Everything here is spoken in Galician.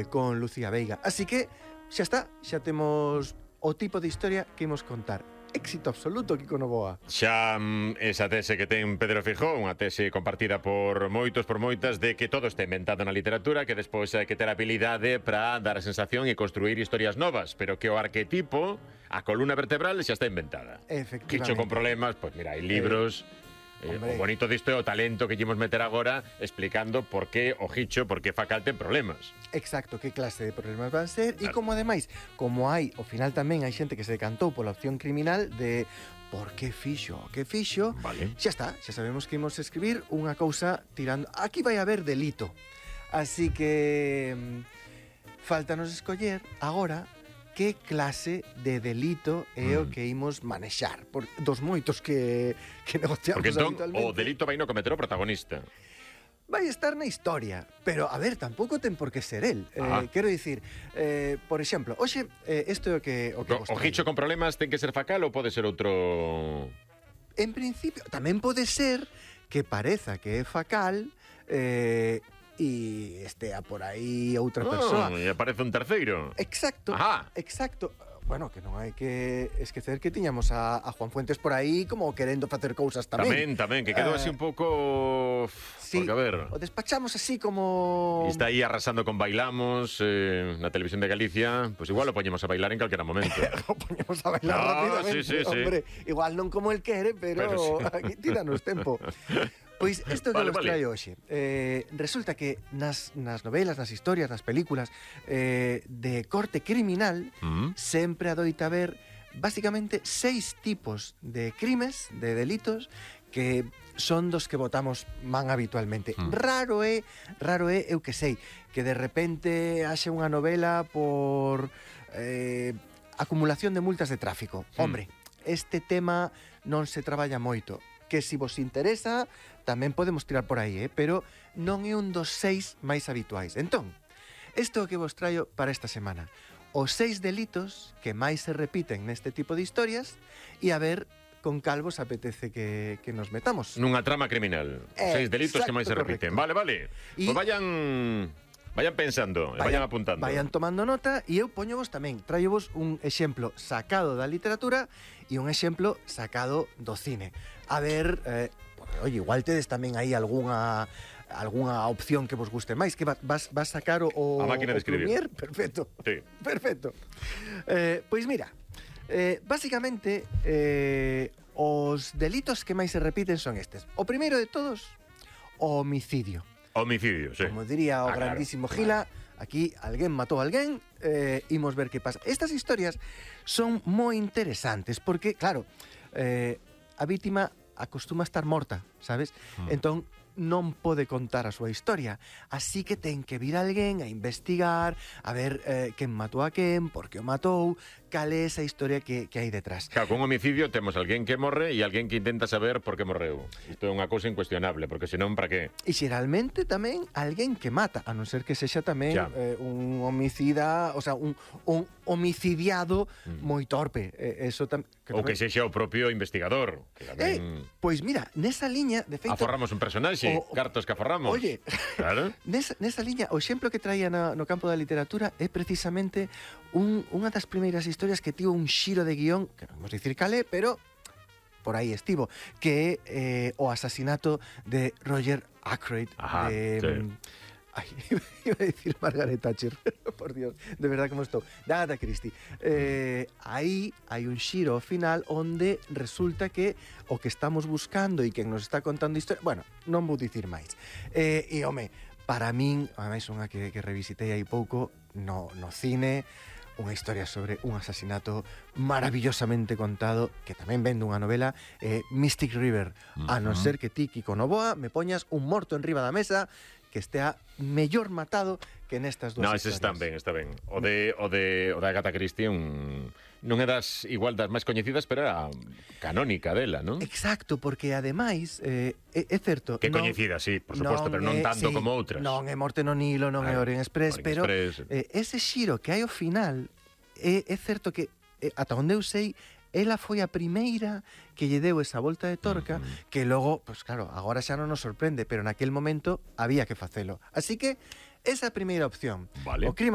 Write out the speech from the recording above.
con Lucía Veiga. Así que xa está, xa temos o tipo de historia que imos contar. Éxito absoluto, Kiko Novoa. Xa esa tese que ten Pedro Feijóo, unha tese compartida por moitos, por moitas, de que todo está inventado na literatura, que despois hai que ter habilidade para dar a sensación e construir historias novas, pero que o arquetipo, a columna vertebral, xa está inventada. Efectivamente. Quicho con problemas, pois mira, hai libros... o bonito disto é o talento que llevamos meter agora explicando por que o Hicho, por que Facal ten problemas. Exacto, que clase de problemas van ser. Claro. E como ademais, como hai, ao final tamén hai xente que se decantou pola opción criminal de por que fixo, Vale. xa está, xa sabemos que imos escribir unha cousa tirando... Aquí vai haber delito. Así que faltanos escoller agora que clase de delito é o que imos manexar dos moitos que negociamos. Porque entón habitualmente. o delito vai no cometer o protagonista. Vai estar na historia, pero, a ver, tampouco ten por que ser el. Quero dicir, por exemplo, hoxe, isto é o que O Hicho con problemas ten que ser Facal ou pode ser outro... En principio, tamén pode ser que pareza que é Facal e estea por aí outra persoa. E aparece un terceiro. Exacto, Ajá. exacto. Bueno, que non hai que esquecer que tiñamos a Juan Fuentes por aí como querendo facer cousas tamén. Tamén, que quedou así un pouco... Sí, porque, a ver... o despachamos así como... E está aí arrasando con Bailamos na televisión de Galicia. Pois igual o poñemos a bailar en calquera momento. O poñemos a bailar rápidamente, sí. hombre. Igual non como el quere, pero sí. aquí tíranos tempo. Pois isto que vos traio hoxe. Resulta que nas novelas, nas historias, nas películas de corte criminal sempre adoita haber basicamente 6 tipos de crimes, de delitos, que son dos que votamos man habitualmente. Raro é, eu que sei, que de repente haxe unha novela por acumulación de multas de tráfico. Hombre, este tema non se traballa moito. Que se vos interesa, tamén podemos tirar por aí, pero non é un dos 6 máis habituais. Entón, isto que vos traio para esta semana. Os 6 delitos que máis se repiten neste tipo de historias e a ver con cal vos apetece que nos metamos. Nunha trama criminal. 6 delitos que máis se repiten. Correcto. Vale. Pois vayan pensando, vayan apuntando. Vayan tomando nota e eu poñovos tamén. Traio-vos un exemplo sacado da literatura e un exemplo sacado do cine. A ver, oye, igual tedes tamén aí algunha opción que vos guste máis, que vas sacar a máquina de escribir. Premiere? Perfecto. Sí. Perfecto. Pois mira, básicamente os delitos que máis se repiten son estes. O primeiro de todos, o homicidio. Homicidio, sí. Como diría o grandísimo Gila, aquí alguén matou a alguén, imos ver que pasa. Estas historias son moi interesantes porque, claro, a vítima acostuma a estar morta, sabes? Entón, non pode contar a súa historia. Así que ten que vir alguén a investigar, a ver quen matou a quen, por que o matou, cal é esa historia que hai detrás. Claro, con un homicidio temos alguén que morre e alguén que intenta saber por que morreu. Isto é unha cousa incuestionable, porque senón, para que? E xeralmente tamén alguén que mata, a non ser que sexa tamén un homicida, o sea, un homicidiado moi torpe. Ou que sexa o propio investigador. Que tamén... Pois mira, nesa liña, de feito... Aforramos un personaxe, cartos que aforramos. Oye, claro. nesa liña, o exemplo que traía no campo da literatura é precisamente unha das primeiras historias que tivo un xiro de guión, que non vamos dicir calé, pero por aí estivo, que é o asasinato de Roger Ackroyd. Ajá, sí. Ay, iba a decir Margaret Thatcher, por Dios, de verdad como estou. De Agatha Christie. Aí hai un xiro final onde resulta que o que estamos buscando e quen nos está contando historia... Bueno, non vou dicir máis. E, home, para min, ademais unha que revisitei hai pouco no cine, unha historia sobre un asasinato maravillosamente contado, que tamén vende unha novela, Mystic River. A non ser que ti, Kiko Novoa, me poñas un morto enriba da mesa que estea mellor matado que nestas dúas historias. No, ese está ben. O de Agatha Christie non é igual das máis coñecidas, pero era canónica dela, non? Exacto, porque ademais é certo... Que coñecida, sí, por suposto, pero non tanto como outras. Non é Morte no Nilo, non é Orient Express, pero ese xiro que hai ao final é certo que, ata onde eu sei, ela foi a primeira que lle deu esa volta de torca que logo, pues claro, agora xa non nos sorprende, pero naquel momento había que facelo. Así que esa é a primeira opción. Vale. O crime